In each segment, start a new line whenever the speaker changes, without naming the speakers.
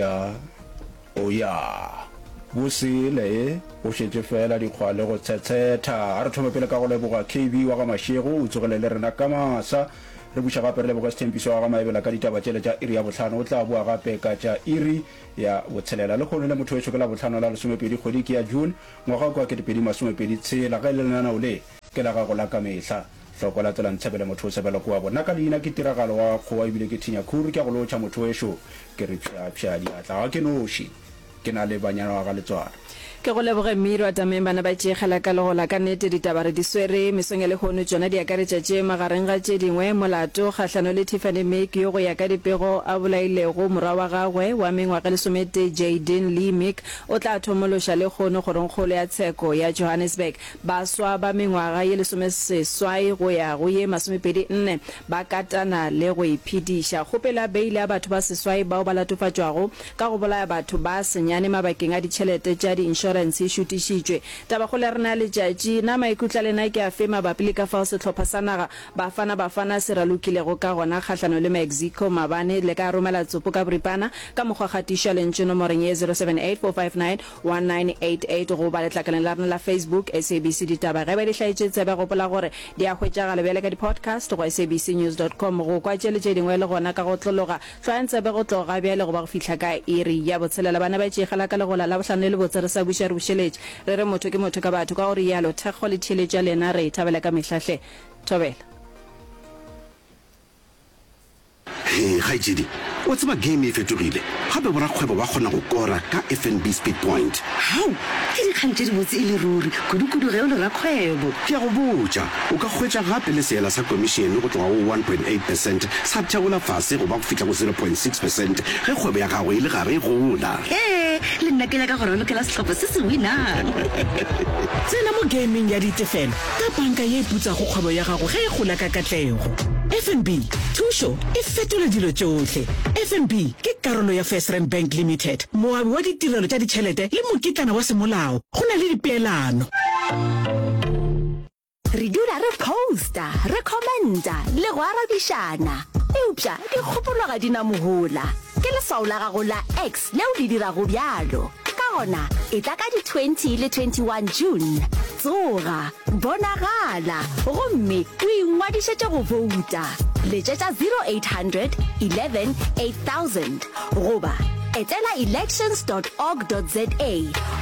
ya, o ya. Bosele e, go šetše feela dikgwa le go tshetshetha. A re thome pele ka go leboga KB wa ga Mashego, o tsogile le rena ka masa. Re buša gape re leboge Sthempiso wa ga Maebela ka ditaba tšele tša iri ya bohlano, o tla boa gape ka tša iri ya botshelela. Lehono le motho wešo ke Labohlano la lesomepedi kgwedi ke ya June, ngwaga ke wa ketepedi masomepedi tshela. Ge e le lenaneo le ke la gago la ka mehla. Hloko la tsela ntshebele motho o sebelwa ke wa bo. Nna ka leina ke Tiragalo wa ga Kgowa ebile ke thinya khuru ke a go lotšha motho wešo ke re pšha pšha diatla ga ke noši ke na le banyana wa ga Letswalo.
Ke go leboge Mmirwa Tameng bana ba tšeegela ka legola ka nnete ditaba re di swere mesong ya lehono tšona di akaretša tše magareng ga tše dingwe molato kgahlano le Tiffany Meek yo go ya ka dipego a bolailego morwa wa gagwe wa mengwaga e lesometee Jayden Lee Meek o tla thomološa lehono kgorongkgolo ya tsheko ya Johannesburg Baswa ba mengwaga ye lesomeseswai go ya go ye masomepedi-nne ba katana le go iphediša. Kgopelo ya beile ya batho ba seswai bao ba latofatšwago ka go bolaya batho ba senyane mabakeng a ditšhelete tša diinšorense e šutišitšwe. Tabakgolo ya rena ya letšatši, Na maikutlo a lena ke afe mabapi le ka fao sehlopha sa naga Bafana Bafana se ralokilego ka gona kgahlanong le Mexico maabane? Le ka romela tsopo ka boripana ka mokgwa kgatišo ya lentšu nomoreng ye 078 459 1988 goba letlakaleng la rena la Facebook, SABC Ditaba. Ge ba di hlaetše tsebe, gopola gore di a hwetšagala bjale ka di-podcast go sabcnews dot com. Go kwa tše le tše dingwe le gona ka go otlologa, hlwayang tsebe go tloga bjale go ba go fihla ka iri ya botshelela. Bana ba tšeegela ka legola Labohlano le lebotse re sa buša re bušeletše. Re re motho ke motho ka batho. Ka go rialo, thekgo le theeletšo ya lena re e thabela ka mehla hle. Thobela.
Hee kgaetšedi, wa tseba game e fetogile, gape borakgwebo ba kgona go kora ka FNB Speed Point.
Hao, ke dikgang tše dibotse e le ruri, kudu-kudu ge o le rakgwebo.
Ke a go botša, o ka hwetša gape le seela sa komišene go tloga go 1.8 percent sa theola fase go ba go fihla go 0.6 percent ge kgwebo ya gago e le gare e gola.
Hee, le nna ke nyaka go ralokela sehlopha se se winang.
Tsena mo gameng ya ditefelo ka panka ye e putsago kgwebo ya gago ge e gola ka katlego. FNB, thušo e fetola dilo tšohle. FNB ke karolo ya FirstRand Bank Limited, moabi wa ditirelo tša ditšhelete le mokitlana wa semolao. Go na le dipeelano.
Re dula re posta, re commenta le go arabišana. Eupša dikgopolo ga di na mohola. Ke leswao la gago la X leo le dirago bjalo. Ka gona, etla ka di 20 le 21 June. Tsoga, bonagala, gomme o ingwadišetše go bouta. Letšetša 0800 11 8000 goba etela elections dot org dot za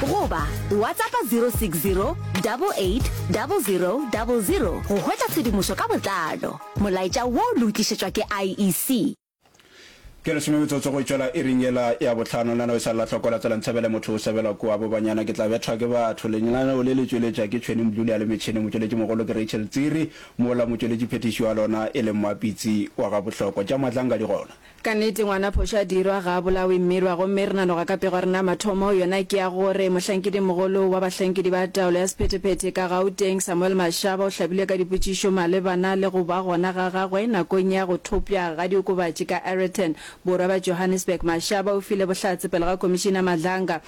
goba WhatsAppa 060 88 00 00 go hwetša tshedimošo ka botlalo. Molaetša wo le o tlišetšwa ke IEC.
Ke lesome metsotso go tšwela iring yela ya bohlano. Lenaneo e sa le la hloko la tsela ntshebele motho o sebelwa kua bo banyana ke tla bethwa ke batho. Lenaneo le le tšweletša ke Tšhwene Mdluli a le metšhene motšweletši mogolo ke Rachel Tsiri mola motšweletši phethiši wa lona e le Mmapitsi wa ga Bohlokwa. Tša Matlanga di gona.
Ka nnete ngwana phošo a dirwa ga a bolawe mmirwa gomme re nanoga ka pego ya rena ya mathomo yona ke ya gore mohlankedi-mogolo wa bahlankedi ba taolo ya sephethephethe ka Gauteng Samuel Mashaba o hlabilwe ka dipotšišo malebana le go ba gona ga gagwe nakong ya go thopša ga diokobatši ka Aeroton borwa bja Johannesburg Mashaba o file bohlatse pele ga Komišina Madlanga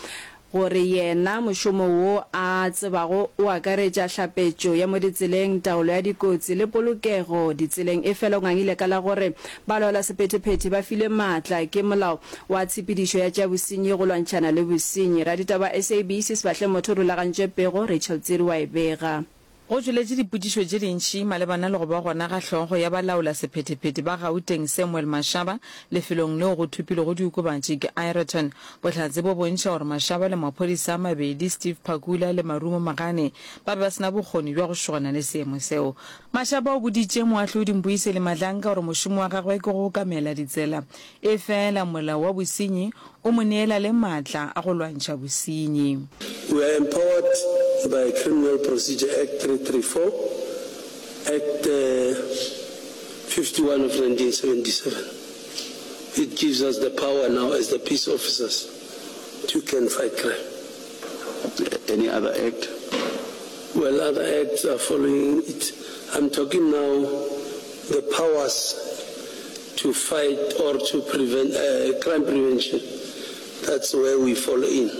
Gore yena mošomo wo a tsebago o akaretša hlapetšo ya mo ditseleng, taolo ya dikotsi le polokego ditseleng, efela o ngangile ka la gore balaolasephetephete ba filwe maatla ke molao wa tshepedišo ya tša bosenyi go lwantšhana le bosenyi. Raditaba wa SABC Sebahle Motho o rulagantše pego, Rachel Tsiri wa e bega.
Go tšweletše dipotšišo tše dintši malebana le go ba gona ga hlogo ya balaolasephetephete ba Gauteng Samuel Mashaba lefelong leo go thopilwego diokobatši ke Aeroton. Bohlatse bo bontšha gore Mashaba le maphodisa a mabedi Steve Phakula le Marumo Magane ba be ba se na bokgoni bja go šogana le seemo seo. Mashaba o boditše moahlodi Mbuyiseli Madlanga gore mošomo wa gagwe ke go okamela ditsela Efela molao wa bosenyi o mo neela le maatla a go lwantšha bosenyi.
We are empowered by Criminal Procedure Act 334, Act 51 of 1977. It gives us the power now as the peace officers to can fight crime.
Any other act?
Well, other acts are following it. I'm talking now the powers to fight or to prevent uh, crime prevention. That's where we fall in.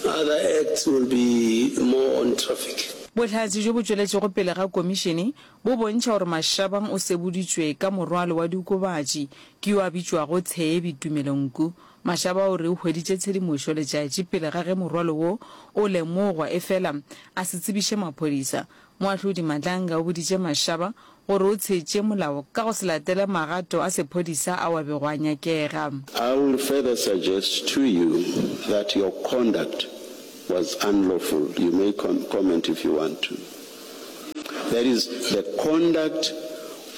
Other acts will be more on traffic.
Bohlatse bjo bo tšweletšego pele ga komišene bo bontšha gore Mashabang o seboditšwe ka morwalo wa diokobatši ke yo a bitšwago Tshebi Tumelo Nku. Mashaba o re o hweditše tshedimošo letšatši pele ga ge morwalo wo o lemogwa efela a se tsebiše maphodisa. Moahlodi Madlanga o boditše Mashaba gore o tshetše molao ka go se latele magato a sephodisa ao a bego a nyakega.
I will further suggest to you that your conduct was unlawful, you may comment if you want to. That is the conduct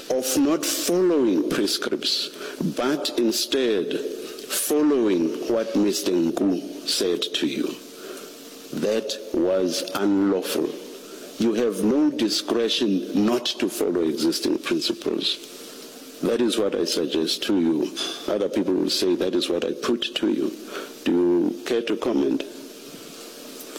of not following prescripts but instead following what Mister Nku said to you. That was unlawful. You have no discretion not to follow existing principles. That is what I suggest to you. Other people will say that is what I put to you. Do you care to comment?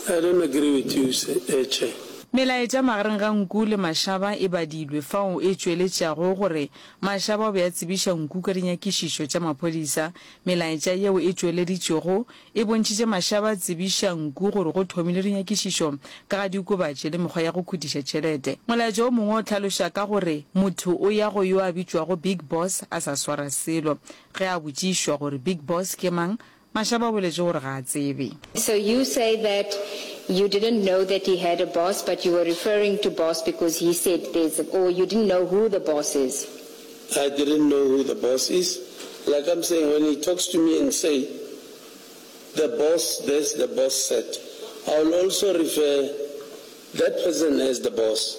I don't agree with you, eh, Chair.
Melaetša magareng ga Nku le Mashaba e badilwe fao e tšweletšago gore Mashaba o be a tsebiša Nku ka dinyakišišo tša maphodisa. Melaetša yeo e tšweleditšwego E bontšhitše mašaba a tsebiša nku gore go thomilwe dinyakišišo ka ga diokobatši le mekgwa ya go khutiša tšhelete. Molaetša o mongwe o hlaloša ka gore motho o ya go yo a bitšwago Big Boss a sa swara selo. Ge a botšišwa gore Big Boss ke mang, Mašaba o boletše gore ga a tsebe.
So you say that you didn't know that he had a boss but you were referring to boss because he said there's a, or you didn't know who the boss is?
I didn't know who the boss is. Like I'm saying, when he talks to me and say, the boss this, the boss that, I will also refer that person as the boss.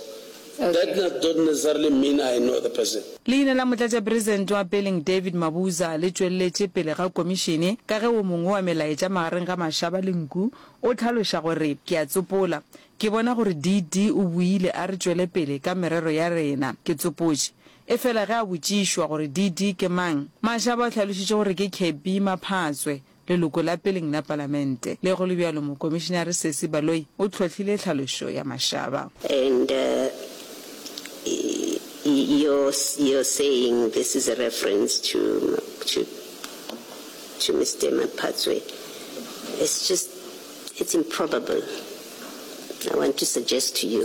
Okay. That not, don't necessarily mean I know the person.
Leina la Motlatšapresidente wa peleng David Mabuza le tšweleletše pele ga komišene ka ge wo mongwe wa melaetša magareng ga Mashaba le Nku o hlaloša gore, Ke a tsopola, Ke bona gore DD o buile a re tšwele pele ka merero ya rena. Ke tsopotše. Efela ge a botšišwa gore DD ke mang, Mashaba o hlalošitše gore ke Kebby Maphatswe, leloko la peleng la palamente. Le go le bjalo, Mokomišinare Sesi Baloyi o hlohlile tlhalošo ya Mashaba.
And you're, you're saying this is a reference to, to, to Mister Maphatswe. It's just, it's improbable. I want to suggest to you.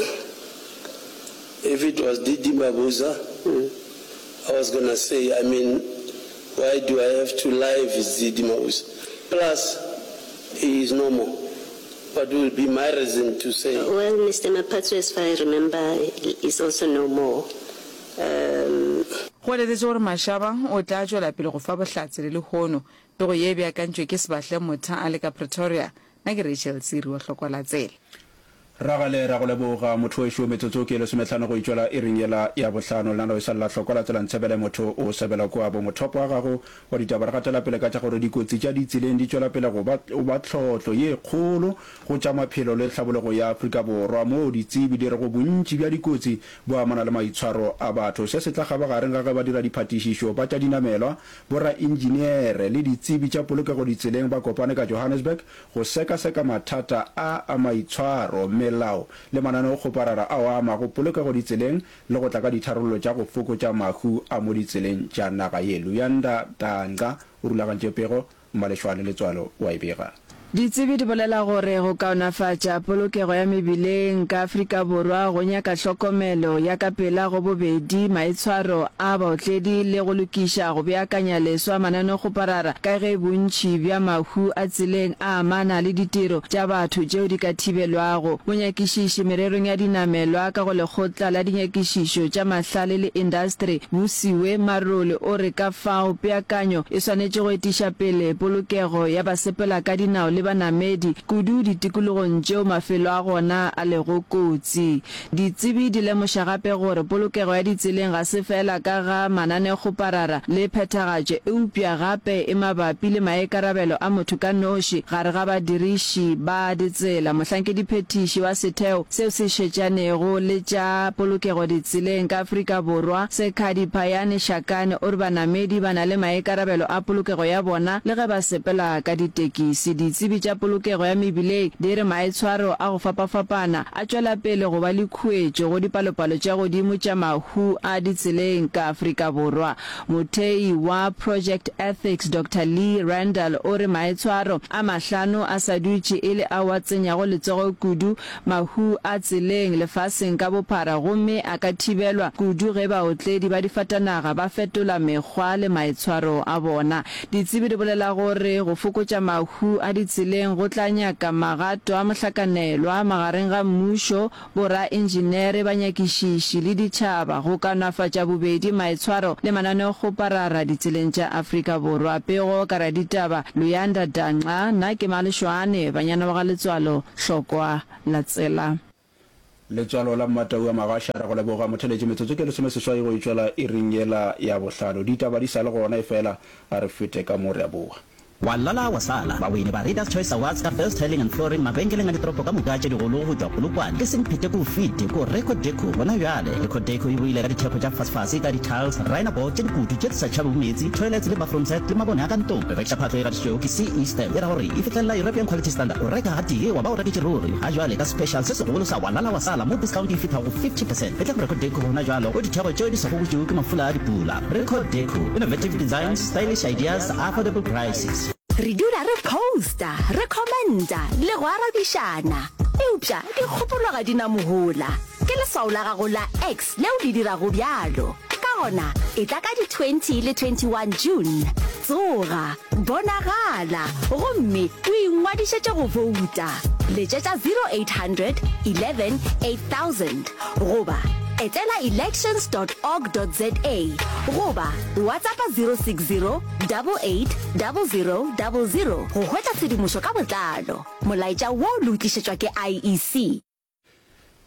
If it was DD Mabuza, mm. I was gonna say, I mean, why do I have to lie if it's DD Mabuza? Plus, he is no more. What will be my reason to say?
Well, Mr. Maphatsoe, as far as I remember, is also no more. Um,
Go letetše gore Mashaba o tla tšwela pele go fa bohlatse le lehono. Pego ye e beakantšwe ke Sebahle Motha a le ka Pretoria. Nna ke Rachel Tsiri wa Hlokwa la Tsela.
Ragale, ra go leboga motho wešo, metsotso ke e lesometlhano go itšwela iring yela ya bohlano. Lenaneo e sa le la Hlokwa la Tsela Ntshebele, motho o sebela kua bo mothopo wa gago wa ditaba. Re gatela pele ka tša gore dikotsi tša ditseleng di tšwela pele go ba go ba tlhohlo ye kgolo go tša maphelo le tlhabologo ya Afrika Borwa, moo ditsebi di rego bontši bja dikotsi bo amana le maitshwaro a batho. Se se tla kgabagareng ga ge ba dira diphatišišo ba tša dinamelwa, boraintšineere le ditsebi tša polokego ditseleng ba kopane ka Johannesburg go sekaseka mathata a a maitshwaro, melao le mananeokgoparara ao a amago polokego ditseleng le go tla ka ditharollo tša go fokotša mahu a mo ditseleng tša naga ye. Luyanda Danca o rulagantše pego, Mmalešwane Letswalo o a e bega.
Ditsebi di bolela gore go kaonafatša polokego ya mebileng ka Afrika Borwa go nyaka hlokomelo ya ka pela go bobedi maitshwaro a baotledi le go lokiša go beakanya leswa mananeokgoparara ka ge bontši bja mahu a tseleng a amana le ditiro tša batho tšeo di ka thibelwago. Monyakišiši mererong ya dinamelwa ka go Lekgotla la Dinyakišišo tša Mahlale le Indastri, Busiwe Marole o re ka fao peakanyo e swanetše go etiša pele polokego ya basepelakadinao le banamedi, kudu ditikologong tšeo mafelo a gona a lego kotsi. Ditsebi di lemoša gape gore polokego ya ditseleng ga se feela ka ga mananeokgoparara le phethagatšo eupša gape e mabapi le maikarabelo a motho ka noši gare ga badiriši ba ditsela. Mohlankediphethiši wa setheo seo se šetšanego le tša polokego ditseleng ka Afrika Borwa, Sekhadi Phayane Shakane o re banamedi ba na le maikarabelo a polokego ya bona le ge ba sepela ka ditekisi. Ditsebi. Ditsebi tša polokego ya mebileng di re maitshwaro a go fapafapana a tšwela pele go ba le khuetšo go dipalopalo tša godimo tša mahu a ditseleng ka Afrika Borwa. Mothei wa Project Ethics Doctor Lee Randall o re maitshwaro a mahlano a sa dutše e le ao a tsenyago letsogo kudu mahu a tseleng lefaseng ka bophara gomme a ka thibelwa kudu ge baotledi ba difatanaga ba fetola mekgwa le maitshwaro a bona. Ditsebi di bolela gore go fokotša mahu a ditseleng go tla nyaka magato a mohlakanelwa magareng ga mmušo, boraentšineere, banyakišiši le ditšhaba go kaonafatša bobedi maitshwaro le mananeokgoparara ditseleng tša Afrika Borwa. Pego ka raditaba Luyanda Danxa, Nna ke Malešwane, Banyana ba ga Letswalo, Hlokwa la tsela.
Letswalo la Mmatau a Magasha, Re go leboga motheletši metsotso ke lesomeseswai go e tšwela iring yela ya bohlano. Ditaba di sa le gona efela a re fete ka mo re a boa.
Wa lala wa sala. Bawini ba Readers Choice Awards ka Best Tiling and Flooring mabenkeleng a ditoropo ka moka tše digolo go tšwa Polokwane ke Semphete ko Fete ko Reco Deco gona bjale. Reco Deco e boile ka dithekgo tša fasefase ka di-tiles, rhinoboard tše dikutu tše di sa tšhabego meetse, toilets le bathroom set le mabone a ka ntlong. Re rekiša phahlo e gatišitšwego ke CE Stamp e ra gore e fihlelela European Quality Standard. O reka gatee wa ba o reketše ruri. Ga jwale ka special se segolo sa wa lala wa sala mo discount e fihla go 50 percent. Etla go Reco Deco gona bjalo go ditheko tšeo di sa gobotšwego ke mafula a dipula. Reco Deco, innovative designs, stylish ideas, affordable prices.
Re dula re posta, re commenta le go arabišana. Eupša dikgopolo ga di na mohola. Ke leswao la gago la X leo le dirago bjalo. Ka gona, etla ka di 20 le 21 June. Tsoga, bonagala, gomme o ingwadišetše go bouta. Letšetša 0800 11 8000 goba etela elections dot org dot za goba WhatsAppa 060 88 00 00 go hwetša tshedimošo ka botlalo. Molaetša wo le o tlišetšwa ke IEC.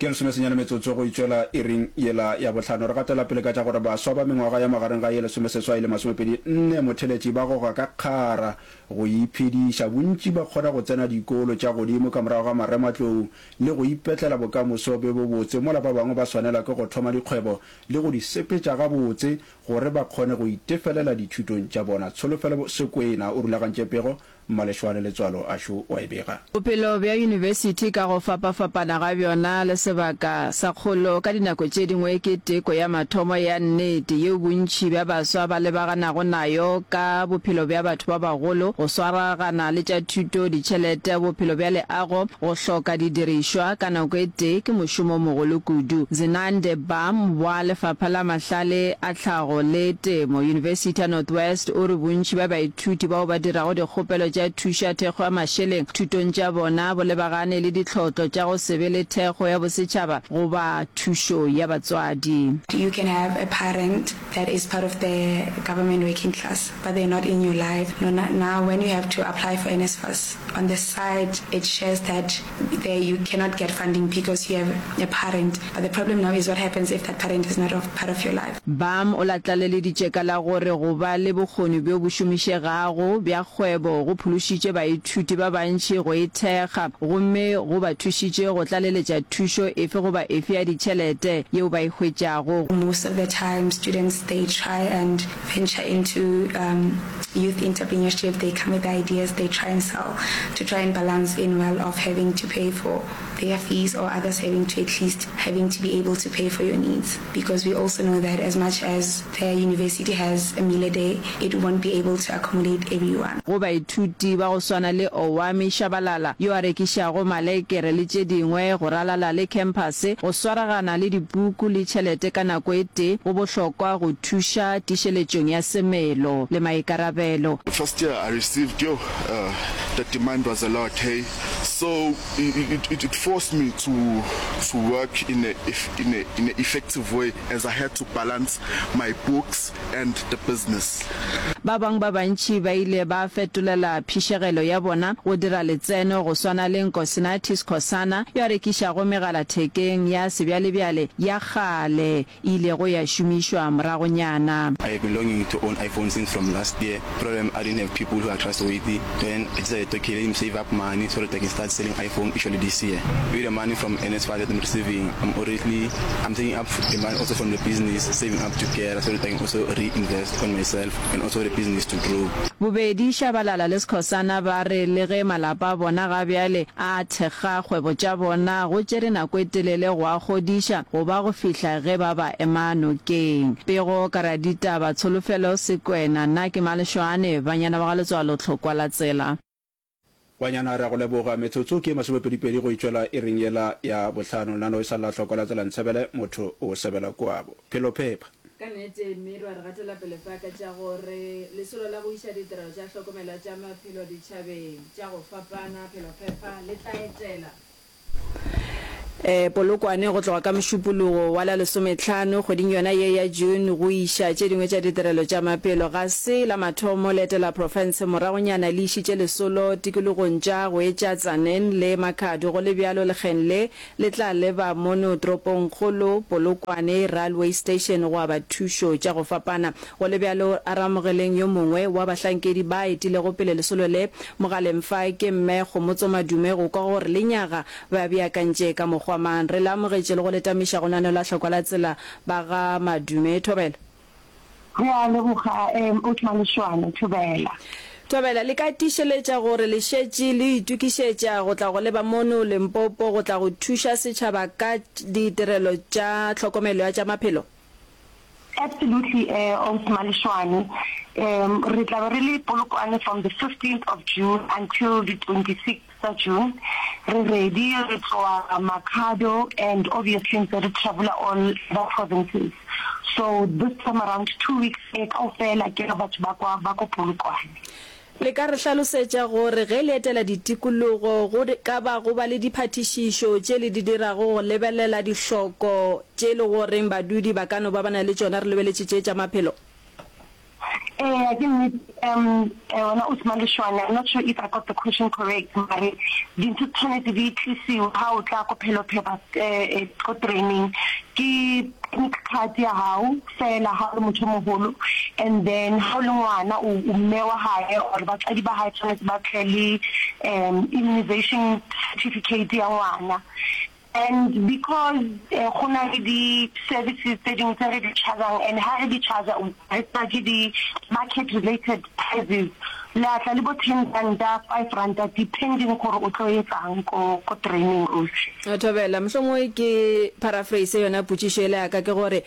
Ke lesomesenyane metsotso go itšwela iring yela ya bohlano. Re gatela pele ka tša gore baswa ba mengwaga ya magareng ga ye lesomeseswai le masomepedi nne motheletši ba goga ka kgara go iphediša. Bontši ba kgona go tsena dikolo tša godimo ka morago ga marematlou le go ipetlela bokamoso bjo bobotse mola ba bangwe ba swanelwa ke go thoma dikgwebo le go di sepetša gabotse gore ba kgone go itefelela dithutong tša bona. Tsholofelo Sekwena o rulagantše pego Mmalešwane Letswalo Ashu o a e bega.
Bophelo bja yunibesithi ka go fapafapana ga bjona le sebaka sa kgolo ka dinako tše dingwe ke teko ya mathomo ya nnete yeo bontši bja baswa ba lebaganago nayo ka bophelo bja batho ba bagolo, go swaragana le tša thuto, ditšhelete, bophelo bja leago, go hloka didirišwa ka nako e tee ke mošomo o mogolo kudu. Zenande Bam wa Lefapha la Mahlale a Tlhago le Temo, Yunibesithi ya North-West o re bontši bja baithuti bao ba dirago dikgopelo tša thušo ya thekgo ya mašeleng thutong tša bona bo lebagane le ditlhotlo tša go se be le thekgo ya bosetšhaba goba thušo ya batswadi.
You can have a parent that is part of the government working class but they're not in your life no now when you have to apply for NSFAS on the side it shares that there you cannot get funding because you have a parent but the problem now is what happens if that parent is not of part of your life.
Bam o la tlaleleditše ka la gore go ba le bokgoni bjo bo šomišegago bja kgwebo go phološitše baithuti ba bantši go e thekga gomme go ba thušitše go tlaleletša thušo efe goba efe ya ditšhelete yeo ba e hwetšago.
Most of the time students they try and venture into um youth entrepreneurship they come with ideas they try and sell to try and balance in well of having to pay for their fees or others having to at least having to be able to pay for your needs because we also know that as much as the university has a meal a day it won't be able to accommodate everyone.
Go baithuti ba go swana le Owami Shabalala yo a rekišago malekere le tše dingwe go ralala le khemphase, go swaragana le dipuku le tšhelete ka nako e tee go bohlokwa go thuša tiišeletšong ya semelo le maikarabelo.
First year I received yoh uh, the demand was a lot hey so it, it, it forced me to to work in a in a in a effective way as I had to balance my books and the business.
Ba bangwe ba bantši ba ile ba fetolela phišegelo ya bona go dira letseno go swana le Nkosinathi Skhosana yo a rekišago megalathekeng ya sebjalebjale ya kgale e ilego ya šomišwa moragonyana.
I have been longing to own iPhone since from last year, problem I didn't have people who are trustworthy, then I decided okay let me save up money so that I can start selling iPhone actually this year. With the money from NSFAS that I'm receiving, I'm already I'm taking up the money also from the business, saving up together so that I can also reinvest on myself and also. the business to grow.
Bobedi Shabalala le Skhosana ba re le ge malapa a bona ga bjale a thekga kgwebo tša bona, go tšere nako e telele go a godiša go ba go fihla ge ba ba ema nokeng. Pego ka raditaba Tsholofelo Sekwena, Nna ke Maleshwane, Banyana ba ga Letswalo Tlhokwa la Tsela.
Banyana re a go leboga. Metsotso ke e masomepedipedi go e tšwela iring yela ya bohlano. Lenaneo e sa lla hloko la tsela ntshebele motho o sebela kwabo. Phelo phepa.
Ka nnete, Mmirwa re gatela pele fa ka tša gore lesolo la go iša ditirelo tša hlokomelo ya tša maphelo ditšhabeng tša go fapana, Phelophepa, le tla etela. Polokwane go tloga ka Mošupologo wa la lesometlhano kgweding yona ye ya June go iša tše dingwe tša ditirelo tša maphelo. Ga se la mathomo le etela profense, moragonyana le išitše lesolo tikologong tša go etša Tzaneen le Makhado. Go le bjalo lekgeng le le tla leba mono toropongkgolo Polokwane Railway Station go aba thušo tša go fapana. Go le bjalo, a re amogeleng yo mongwe wa bahlankedi ba etilego pele lesolo le mogaleng fa, ke Mme Kgomotso Madume, go kwa gore lenyaga ba beakantše ka mokgwa mang. Re le amogetše le go le tamiša go lenaneo la Hlokwa la Tsela ba ga Madume. Thobela.
Re a leboga, Old Maleshwane. Thobela.
Thobela, le ka tiišeletša gore le šetše le itokišetša go tla go leba mono Limpopo go tla go thuša setšhaba ka ditirelo tša tlhokomelo ya tša maphelo?
Absolutely Ausi Maleshwane. Re tla be re le Polokwane from the 15th of June until the 26th tsa June. Re ready, re tloa Makhado and obviously ntse re travel-a all other provinces. So this time around two weeks e kaofela ke re batho ba kwa ba ko Polokwane.
Le ka re hlalosetša gore ge le etela ditikologo go ka ba go ba le diphatišišo tše le di dirago go lebelela dihloko tše e le goreng badudi ba ka no ba ba na le tšona re lebeletše tše tša maphelo?
Eya, ke nnete. Um, wena Ausi Maleshwane, I'm not sure if I got the question correct, mare dintho di tshwanetse di tlisiwe ha o tla ko Phelophepa ko training ke clinic card ya hao, Fela ha o le motho o moholo and then ha o le ngwana o o mme wa hae or batswadi ba hae tshwanetse ba tle le um immunization certificate ya ngwana and because go na le di services tse dingwe tse re di charge-ang and ha re di charge-a re charge di market related prices le a tla le bo ten ranta, five ranta depending gore o tlo etsang ko ko training ausi.
Thobela, mohlomongwe ke paraphrase yona potšišo yela ya ka ke gore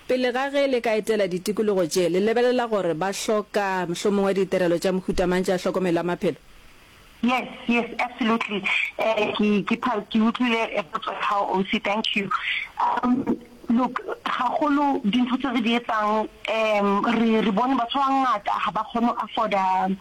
Pele ga ge le ka etela ditikologo tše, le lebelela gore ba hloka mohlomongwe ditirelo tša mohuta mang tša hlokomelo ya maphelo?
Yes, yes, absolutely. Eh, ke, ke, ke utlwile potso ya gago, Ausi, thank you. Um, look, gagolo dintho tse re di etsang, um, re, re bone batho ba bangata ga ba kgone go afforda,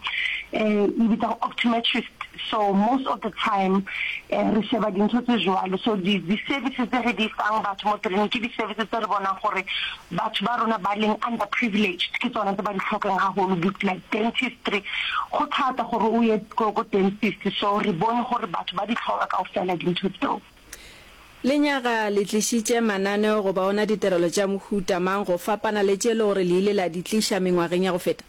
eh, e bitsa optometrist. So most of the time, eh, re sheba dintho tse jwalo. So di, di services tse re di fang batho mo training ke di services tse re bonang gore batho ba rona ba leng under privileged ke tsona tse ba di tlhokang haholo, like dentistry. Go thata gore o ye ko, ko dentist, so re bone gore batho ba di tlhoka kaofela dintho tseo.
Lenyaga le tlišitše mananeo goba ona ditirelo tša mohuta mang go fapana le tše le gore le ile la di tliša mengwageng ya go feta?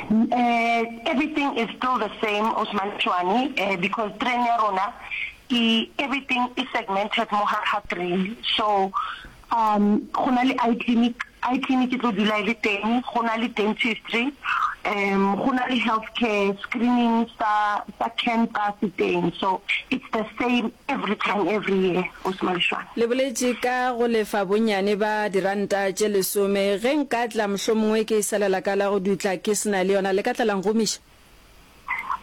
Everything is still the same Osman Tšwane because train ya rona e everything e segmented mo gare ga train so um go na le eye clinic, eye clinic e tlo dula e le teng, go na le dentistry, um go na le health care screening sa sa cancer se teng so it's the same every time every year Osman Tšwane.
Le boletše ka go lefa bonnyane ba diranta tše lesome. Ge nka tla mohlomongwe ke e salela ka la go dutla ke se na le yona, le ka tla la nkgomiša?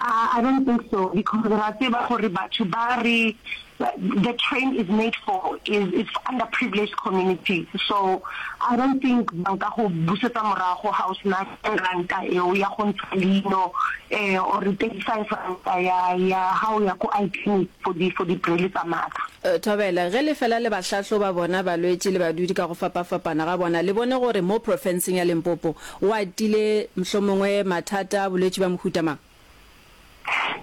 I don't think so because ra tseba gore batho ba re the train is made for is is for underprivileged communities so I don't think ba nka go busetsa morago ha o sena ten ranta eo ya go ntsha leino eh or 35 ranta ya ya ha o ya ko eye clinic for di for di braille tsa matlho.
Thobela, ge le fela le ba hlahloba bona balwetši le badudi ka go fapafapana ga bona, le bone gore mo profenseng ya Limpopo go atile mohlomongwe mathata a bolwetši ba mohuta mang?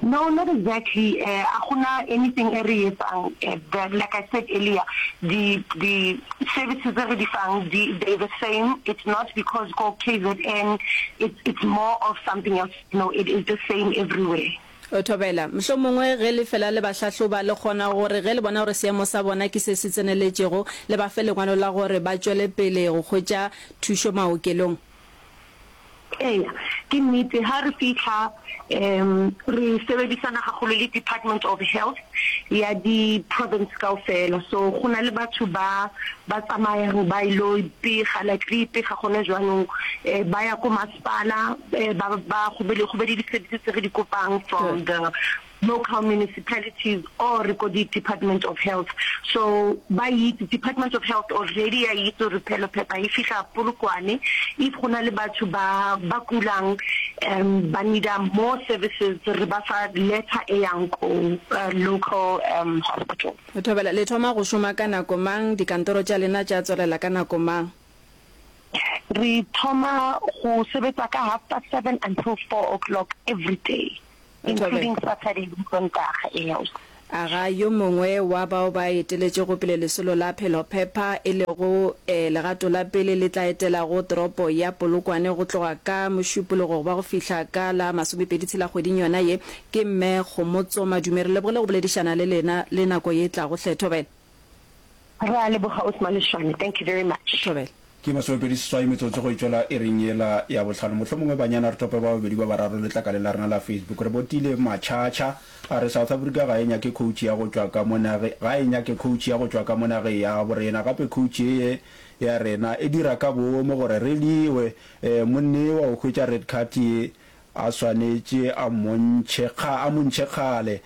No, not exactly. A gona anything e re etsang. The, like I said earlier, di, di services tse re di fang, di, they're the same. It's not because ko KZN, it's, it's more of something else. No, it is the same everywhere.
Thobela, Mohlomongwe ge le fela le ba hlahloba, le kgona gore ge le bona gore seemo sa bona ke se se tseneletšego, le ba fe lengwalo la gore ba tšwele pele go hwetša thušo maokelong.
Eya, ke nnete. Ha re fihla, um re sebedisana gagolo le Department of Health ya di province kaofela. So go na le batho ba ba tsamayang ba ilo ipega, like re ipega gone jwanong, ba ya ko masepala, ba ba go be le go be le di-services tse re di kopang from the local municipalities or ko di department of health so ba itse department of health already ya itse gore phelo phepa e fihla Polokwane if go na le batho ba ba kulang um ba needa more services re ba fa letter e yang ko uh, local um hospital.
Thobela, Le thoma go šoma ka nako mang? Dikantoro tša lena tša tswalela ka nako mang?
Re thoma go sebetsa ka half past 7 until 4 o'clock every day. Including Saturday le Sontaga, eya.
Aga yo mongwe wa bao ba eteletšego pele lesolo la Phelophepa, e lego legato la pele le tla etelago toropo ya Polokwane go tloga ka Mošupologo go ba go fihla ka la masomepeditshela kgweding yona ye, ke Mme Kgomotso Madume. Re lebogile go boledišana le lena le nako ye tlago hle. Thobela.
Re a leboga Ausi Maleshwane, thank you very much.
Thobela.
Ke masomepedi-seswai metsotso go e tšwela iring yela ya bohlano. Mohlomongwe banyana re tope ba babedi ba bararo letlakaleng la rena la Facebook. Re botile Machacha a re South Africa ga e nyake coach ya go tšwa ka mo nage, ga e nyake coach ya go tšwa ka mo nageng ya borena. Gape coach ye ya rena e dira ka boomo gore re liwe. Monnewa o hwetša red card ye a swanetše a mmontšhe, a mo ntšhe kgale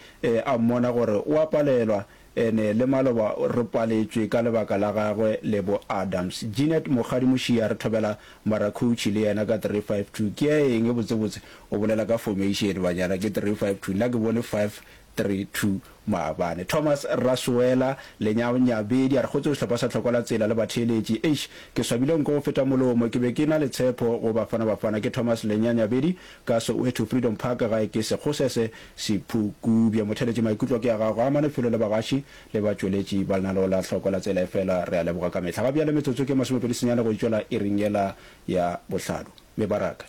a mmona gore o a palelwa. Ene le maloba re paletšwe ka lebaka la gagwe le bo Adams. Jeanette Mokgadi Mošia re thobela mara coach le yena ka 352 ke ya eng botsebotse o bolela ka formation banyana ke 352 nna ke bone 532 maabane. Thomas Rasoela Lenyanyabedi a re kgotso sehlopha sa Tlhoko la Tsela le batheeletši eish ke swabile nko go feta molomo ke be ke na le tshepo go Bafana Bafana ke Thomas Lenyanyabedi Ka Soweto Freedom Park gae ke Sekgosese Sephukubje. Motheeletši maikutlo ke a gago a amane felo le bagaši le batšweletši ba lenaneo la Hloko la Tsela efela re a leboga ka mehla. Ga bjale metsotso ke 29 go itšwela iring yela ya bohlano. Mebaraka.